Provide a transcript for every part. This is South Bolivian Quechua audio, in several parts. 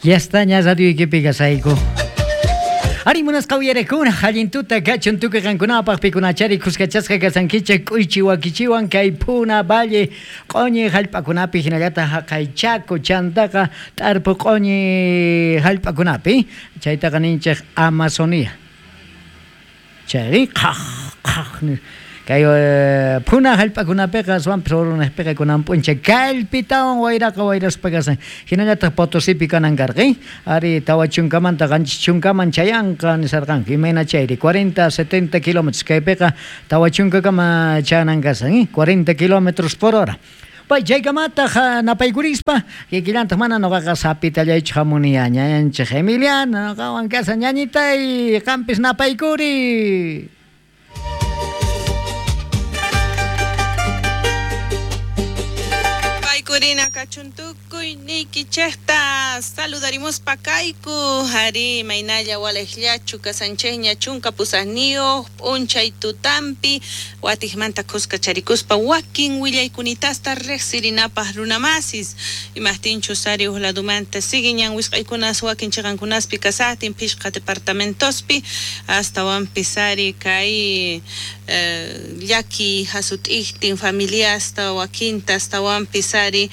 Ya está ña radioykipi kasayku. Ari munasqa uyarekuna, allin tuta kachun tukuy qankunapaq pikunachari khuskachasqa kasankichej k'uychi wakichiwan kay Puna Valle q'oñi jallp'akunapi hinallataq jaqay Chaco chantaqa t'arpu q'oñi jallp'akunapi chaytaqa ninchej Amazonía. Chayri qhaj qhaj kay phuna jallp'akunapiqa aswanpis urunejpiqa kunan p'unchay kallpitawan wayraqa wayraspa kasan. Hinallataq Potosipi kanan karqa, ari 40manta 70kaman chayanqa nisarqanku. Imayna chayri 40 70 kilómetros kaypiqa 40kama chayanan kasan, 40 kilómetros por hora. Pay chaykamataq napaykurispa kikillantaq mana noqaqa sapitallaychu hamuni ñañanchej Emiliano noqawan kasan ñañitay qampis napaykuri. Paykurina kachun tukuy niykichejta saludarimuspa kayku ari imaynalla walejllachu kasanchejña 18 p'unchay tutampi watijmanta khuskacharikuspa wakin willaykunitasta riqsirinapaq runamasis imajtinchus ari uj ladumanta siguiñan wisq'aykunas wakin chiqankunaspi kasajtin phishqa departamentospi astawanpis ari kay llaki jasut'ijtin familiasta wakinta astawanpis ari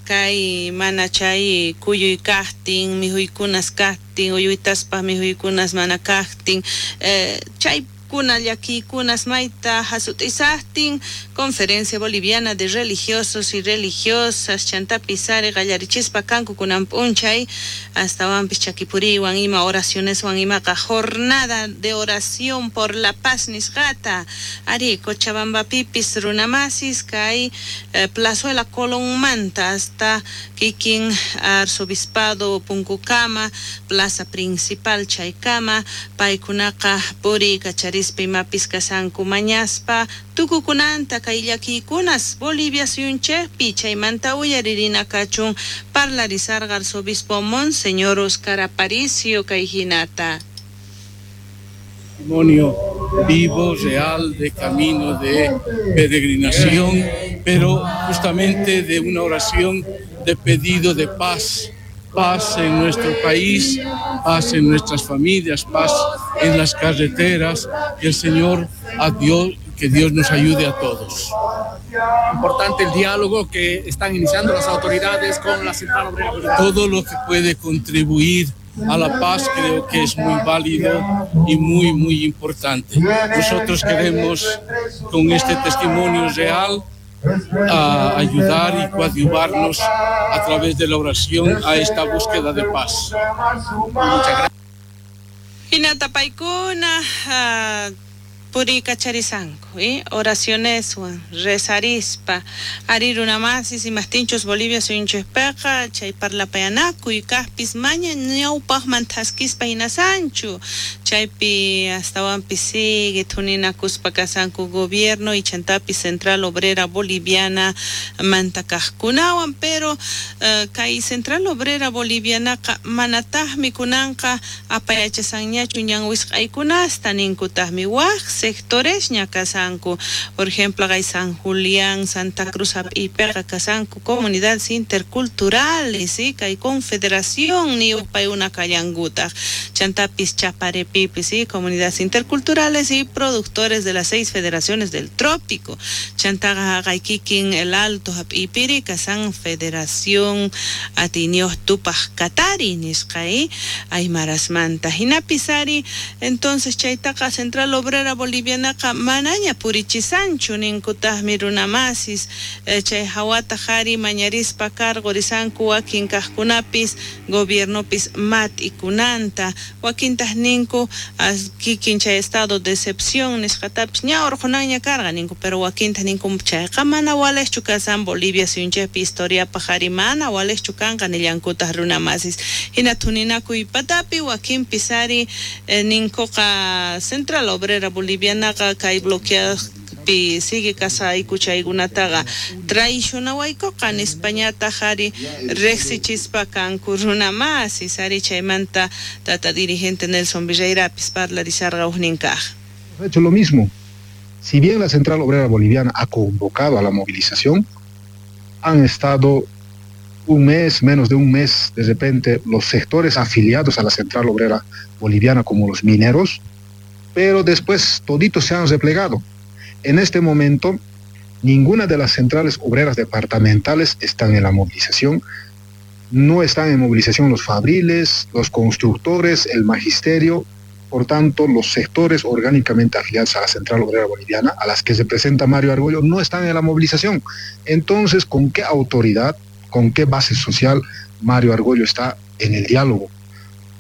kay mana chay kuyuy kajtin mikhuykunas kajtin uyuytaspaj mikhuykunas mana kajtin chay kuna llakiykunas mayta jasut'isajtin Conferencia Boliviana de Religiosos y Religiosas chantapis ari qallarichispa kanku kunan p'unchay astawanpis chakipuriywan ima oracioneswan imaqa jornada de oración por la paz nisqata ari Cochabambapipis runamasis kay Plazuela Colónmanta hasta kikin Arzobispado punkukama plaza principal chaykama paykunaqa puriykachari imapis kasanku mañaspa tukukunanta kay llakiykunas Bolivia suyunchejpi chaymanta uyaririna kachun parlarisarqa arzobispo Monseñor Oscar Aparicio kay hinata. Testimonio vivo, real, de camino de peregrinación, pero justamente de una oración de pedido de paz. Paz en nuestro país, paz en nuestras familias, paz en las carreteras. Que el Señor, a Dios, que Dios nos ayude a todos. Importante el diálogo que están iniciando las autoridades con la Central Obrera Boliviana. Todo lo que puede contribuir a la paz creo que es muy válido y muy, muy importante. Nosotros queremos, con este testimonio real, a ayudar y coadyuvarnos a través de la oración a esta búsqueda de paz. Muchas gracias. Hinata paykuna puriykacharisanku, oracioneswan rezarispa ari runamasis imajtinchus Bolivia suyunchejpeqa chay parlapayanakuy kajpis maña ñawpajman thaskispa hinasanchu chaypi astawanpis sigue thuninakuspa kasanku gobierno y chantapis Central Obrera Boliviana manta kajkunawan pero kay Central Obrera Bolivianaqa manatajmi kunanqa apayachasanñachu ñan wisq'aykunasta ninkutajmi waj sectoresña kasanku, por ejemplo kay San Julián, Santa Cruz hap'iypiqa kasanku comunidades interculturales, ¿sí? Kay confederación niyuq paykuna kallankutaq chantapis Chaparepipis, ¿sí? Comunidades interculturales y productores de las 6 federaciones del trópico, chantaqa haqay kikin el Alto hap'iypiri kasan Federación Atiniyuq Tupaq Katari nisqa, aymarasmanta hinapis ari entonces chaytaqa Central Obrera Bolivianaqa manaña purichisanchu ninkutaqmi runamasis chay hawataq ari mañarispa karqurisanku wakin kajkunapis gobiernopis mat'ikunanta wakintaq ninku kikin chay estado de excepción nisqatapis ña urqunanña karqa ninku pero wakintaq ninku chayqa mana walejchu kasan Bolivia suyunchejpi historiapaq ari mana walejchu kanqa nillankutaq runamasis hina thuninakuy patapi wakinpis ari ninkuqa Central Obrera Bolivianaqa kay bloqueapi sigue kasayku chaykunataqa traicionawaykuqa nispañataq ari riqsichispa kanku runamasis ari chaymanta tata dirigente Nelson Virreirapis parlarisarqa ujnin kaj. Hemos hecho lo mismo. Si bien la Central Obrera Boliviana ha convocado a la movilización, han estado Un mes, menos de un mes, de repente los sectores afiliados a la Central Obrera Boliviana, como los mineros, pero después toditos se han replegado. En este momento, ninguna de las centrales obreras departamentales están en la movilización. No están en movilización los fabriles, los constructores, el magisterio. Por tanto, los sectores orgánicamente afiliados a la Central Obrera Boliviana, a las que se presenta Mario Argollo, no están en la movilización. Entonces, ¿con qué autoridad, con qué base social Mario Argollo está en el diálogo?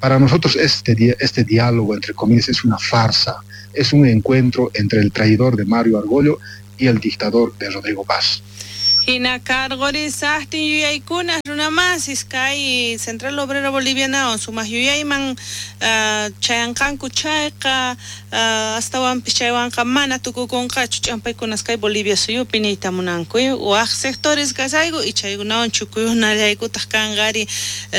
Para nosotros este diálogo, entre comillas, es una farsa, es un encuentro entre el traidor de Mario Argollo y el dictador de Rodrigo Paz. Hina karqorisaqtin yuyaykuna runamasis kay Central Obrera Boliviana sumaq yuyayman chayanqanku chayqa astawanpis chaywanqa mana tukukunqachu ch'ampaykunas kay Bolivia suyupi niyta munanku waq sectores kasayku y chaykunawan chukuyunallaykutaq kanqari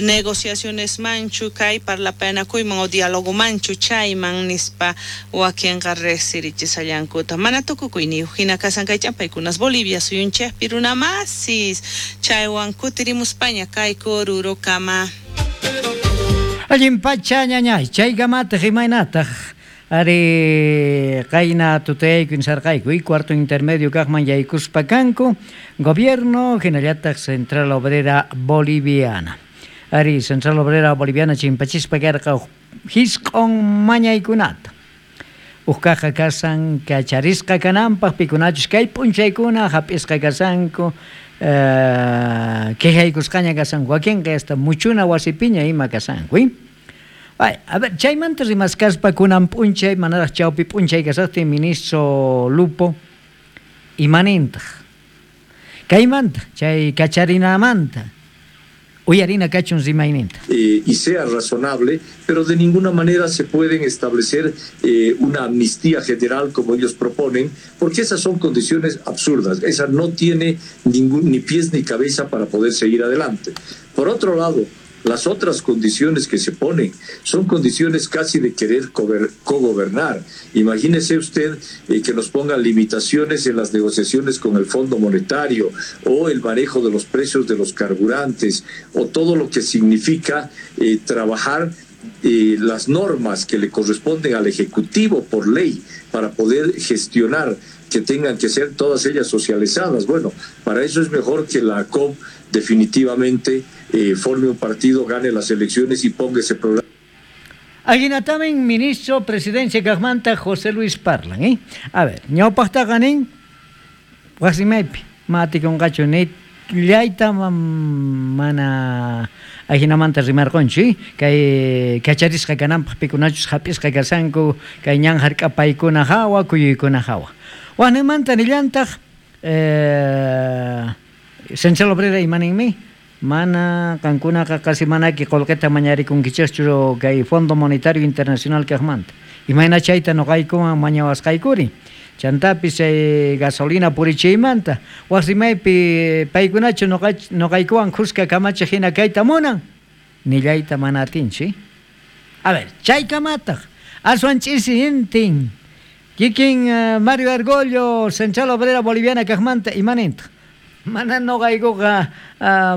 negociacionesmanchu kay parlapayanakuyman o dialogomanchu chayman nispa wakinqa riqsirichisallankuta mana tukukuyniyuq hina kasan kay ch'ampaykunas Bolivia suyunchikpi runamasis chaywan kutirimuspaña kayku Orurokama. Allin pacha ñañay chaykamataq imaynataq ari qayna tutayayku insarqayku y cuarto intermedio kaqman yaykuspa kanku gobierno hinallataq Central Obrera Boliviana. Ari Central Obrera Boliviana chimpachispa karqa hisq'on mañaykunata. Uqkaqa kasan kacharisqa kananpaq pikunachus kay p'unchaykuna hap'isqa kasanku quejaykusqaña kasanku wakinqa hasta muchuna wasipiña ima kasanku. Ay, a ver, chaymanta rimaskaspa kunan p'unchay manaraq chawpi p'unchay kasaqtin ministro Lupo imanintaq kaymanta chay kacharinamanta uyarina kachun rimayninta. Y sea razonable, pero de ninguna manera se pueden establecer una amnistía general como ellos proponen, porque esas son condiciones absurdas. Esa no tiene ningún, ni pies ni cabeza para poder seguir adelante. Por otro lado, las otras condiciones que se ponen son condiciones casi de querer cogobernar. Imagínese usted que nos pongan limitaciones en las negociaciones con el Fondo Monetario o el manejo de los precios de los carburantes o todo lo que significa trabajar las normas que le corresponden al Ejecutivo por ley para poder gestionar, que tengan que ser todas ellas socializadas. Bueno, para eso es mejor que la ACOB definitivamente forme un partido, gane las elecciones y ponga ese programa. Aguinatamen ministro presidencia kaqmanta José Luis Parlan, ¿eh? A ver, ñawpaqtaqa nin wasimaypi matikunqachu nillayta mana ajinamanta rimarqunchu, ¿eh? Kay kacharisqa kananpaq pikunachus hap'isqa kasanku kay ñan hark'apaykuna hawa kuyuykuna hawa. Waqninmanta nillantaq Central Obrera imaninmi mana qankunaqa qasi manaki qullqita mañarikunkichikchu kay Fondo Monetario Internacional kaqmanta. Imayna chayta nuqaykuman mañawasqaykuri. Chantapis chay gasolina purichiymanta wasimaypi paykunachu nuqaykuwan khuska kamachiq hina kayta munan nillayta mana atinchu. A ver, chaykamataq aswan ch'isi intin kikin Mario Argollo Central Obrera Boliviana kaqmanta imanintaq mana noqaykuqa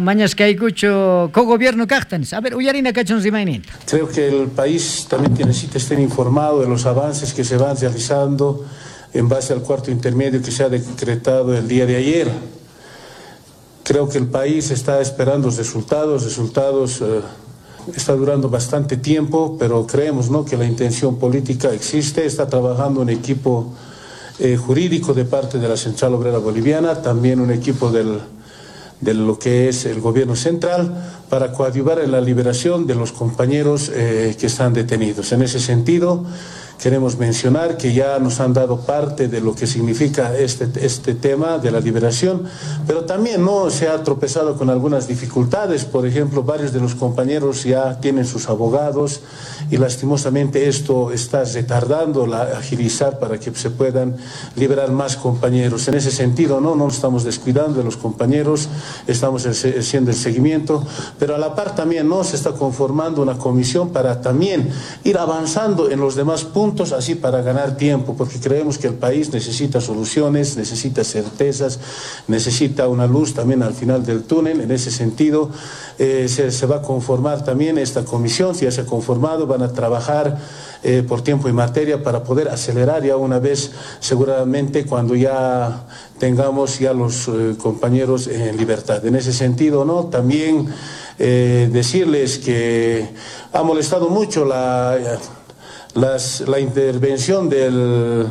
mañasqaykuchu cogobierno kaqta. A ver, uyarina kachun rimayninta. Creo que el país también necesita estar informado de los avances que se van realizando en base al cuarto intermedio que se ha decretado el día de ayer. Creo que el país está esperando resultados, está durando bastante tiempo, pero creemos, ¿no?, que la intención política existe. Está trabajando un equipo jurídico de parte de la Central Obrera Boliviana, también un equipo de lo que es el gobierno central, para coadyuvar en la liberación de los compañeros que están detenidos. En ese sentido, queremos mencionar que ya nos han dado parte de lo que significa este tema de la liberación, pero también no se ha tropezado con algunas dificultades. Por ejemplo, varios de los compañeros ya tienen sus abogados y lastimosamente esto está retardando la agilizar para que se puedan liberar más compañeros. En ese sentido, no nos estamos descuidando de los compañeros, estamos haciendo el seguimiento, pero a la par también no se está conformando una comisión para también ir avanzando en los demás puntos puntos así para ganar tiempo, porque creemos que el país necesita soluciones, necesita certezas, necesita una luz también al final del túnel. En ese sentido, se va a conformar también esta comisión, si ya se ha conformado, van a trabajar por tiempo y materia para poder acelerar ya una vez, seguramente cuando ya tengamos ya los compañeros en libertad. En ese sentido, ¿no? También decirles que ha molestado mucho la intervención del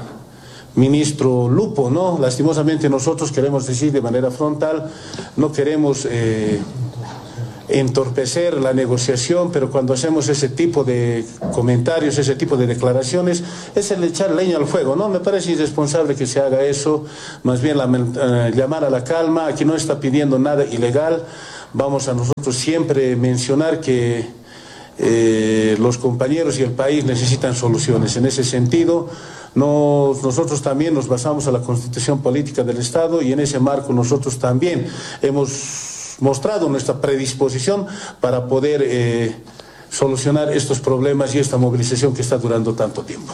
ministro Lupo, ¿no? Lastimosamente nosotros queremos decir de manera frontal, no queremos entorpecer la negociación, pero cuando hacemos ese tipo de comentarios, ese tipo de declaraciones, es el echar leña al fuego, ¿no? Me parece irresponsable que se haga eso, más bien llamar a la calma. Aquí no está pidiendo nada ilegal. Vamos a nosotros siempre mencionar que los compañeros y el país necesitan soluciones. En ese sentido, nosotros también nos basamos a la Constitución Política del Estado y en ese marco nosotros también hemos mostrado nuestra predisposición para poder solucionar estos problemas y esta movilización que está durando tanto tiempo.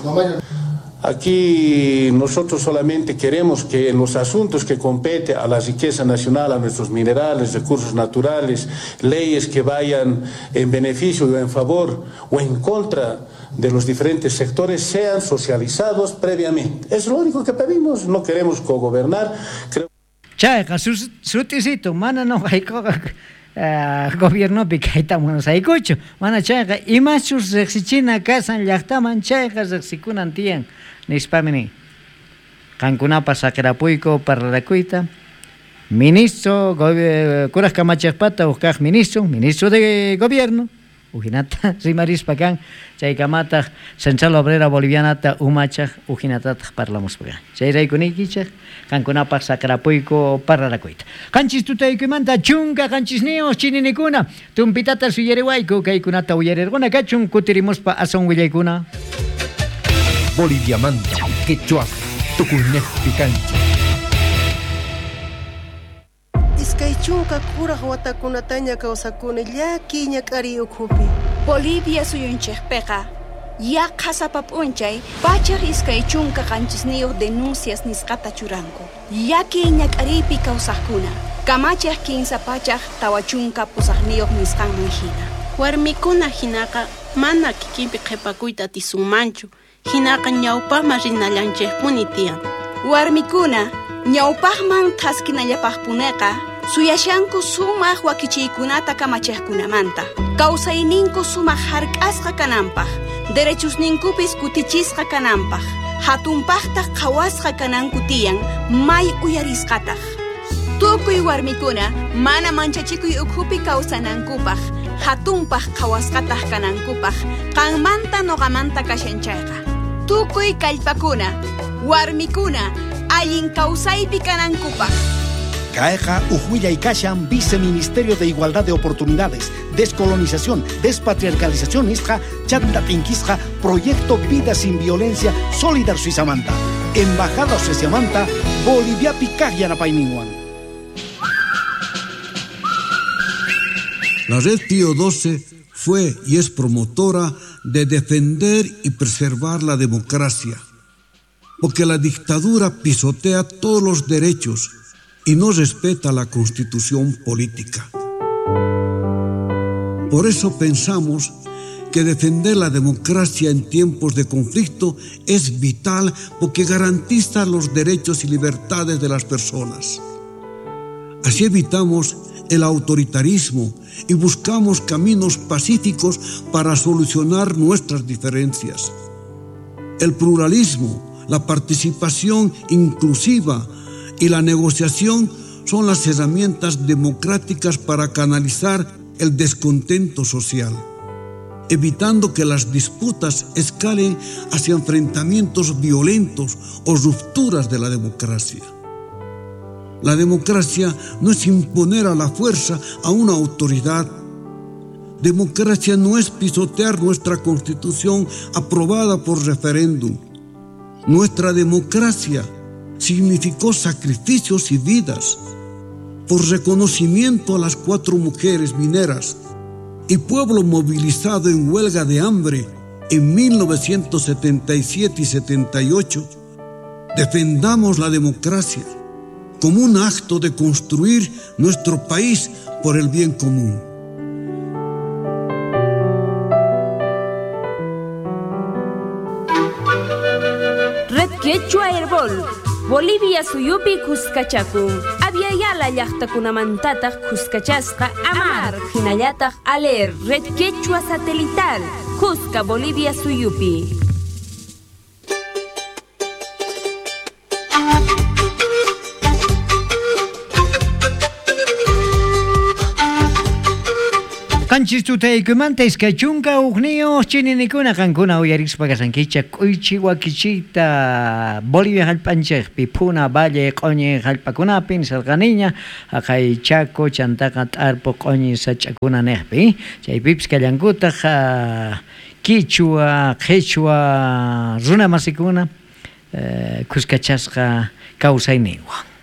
Aquí nosotros solamente queremos que en los asuntos que compete a la riqueza nacional, a nuestros minerales, recursos naturales, leyes que vayan en beneficio o en favor o en contra de los diferentes sectores, sean socializados previamente. Es lo único que pedimos, no queremos cogobernar. Chayqa sutisito mana noqaykuqa gobiernopi kayta munasaykuchu, mana chayqa imachus riqsichina kasan llaqtaman chayqa riqsikunan tiyan nispami nin. Qankunapas saqirapuyku parlarakuyta. Ministro kuraj kamachejpata uj kaj ministro de gobierno ujinata rimarispa kan chaykamataq Central Obrera Bolivianata umachaj ujinatataq parlamuspa kan. Chayrayku niykichej qankunapaq saqirapuyku parlarakuyta. Qanchis tutaykuymanta chunka qanchisniyuq chininikuna tumpitata suyariwayku kaykunata uyarirquna kachun kutirimuspa asun willaykuna. Boliviamanta quechua tukuynejpi kanchik. Iskay chunka kuraj watakunataña kawsakuni llakiy ñak'ariy ukhupi. Bolivia suyunchikpiqa yaqha sapa p'unchay 127 denuncias nisqata churanku. Llakiy ñak'ariypi kawsaqkuna kamachiq 348 nisqanman hina. Warmikuna hinaqa mana kikinpi qhipakuyta atisunmanchu. Hinaqa ñawpaqman rinallanchikpuni tiyan. Warmikuna ñawpaqman thaskinallapaqpuneqa suyashanku sumaq wakichiykunata kamachiqkunamanta. Kawsayninku sumaq hark'asqa kananpaq, derechusninkupis kutichisqa kananpaq, hatunpaqtaq qhawasqa kananku tiyan, may uyarisqataq. Tukuy warmikuna mana manchachikuy ukhupi kawsanankupaq, hatunpaq qhawasqataq kanankupaq, qanmanta noqamanta kashan chayqa. Tukuy kallpakuna, warmikuna, allin kawsaypi kanankupaq. Caeja, Ujuilla y Kashan, Viceministerio de Igualdad de Oportunidades, Descolonización, Despatriarcalización, Isja, Chanta Tinquisja, Proyecto Vida Sin Violencia, Solidar Suizamanta, Embajada Suizamanta, Bolivia Picaj Yanapayninwan. La Red Pío XII fue y es promotora de defender y preservar la democracia, porque la dictadura pisotea todos los derechos y no respeta la Constitución política. Por eso pensamos que defender la democracia en tiempos de conflicto es vital porque garantiza los derechos y libertades de las personas. Así evitamos el autoritarismo y buscamos caminos pacíficos para solucionar nuestras diferencias. El pluralismo, la participación inclusiva y la negociación son las herramientas democráticas para canalizar el descontento social, evitando que las disputas escalen hacia enfrentamientos violentos o rupturas de la democracia. La democracia no es imponer a la fuerza a una autoridad. Democracia no es pisotear nuestra Constitución aprobada por referéndum. Nuestra democracia significó sacrificios y vidas por reconocimiento a las 4 mujeres mineras y pueblo movilizado en huelga de hambre en 1977 y 78, defendamos la democracia como un acto de construir nuestro país por el bien común. Red Quechua Herbol, Bolivia suyupi kuskachakun. Aviala llaqtakunamantataq kuskachasqa Amar, hinallataq Aler, Red Quechua Satelital, Cusca, Bolivia suyupi. Qanchis tutaykumanta iskay chunka hukniyuq chininikuna qankuna uyarispa kasankichik k'uychi wakichiyta Bolivia hallp'anchikpi Puna Valle q'uñi hallp'akunapi nisarqaniña haqay Chaco chantaqa t'arpu q'uñi sach'akuna niqpi chaypipis kallankutaq Quichua, Qhichwa runa masikuna kuskachasqa kawsayninwan.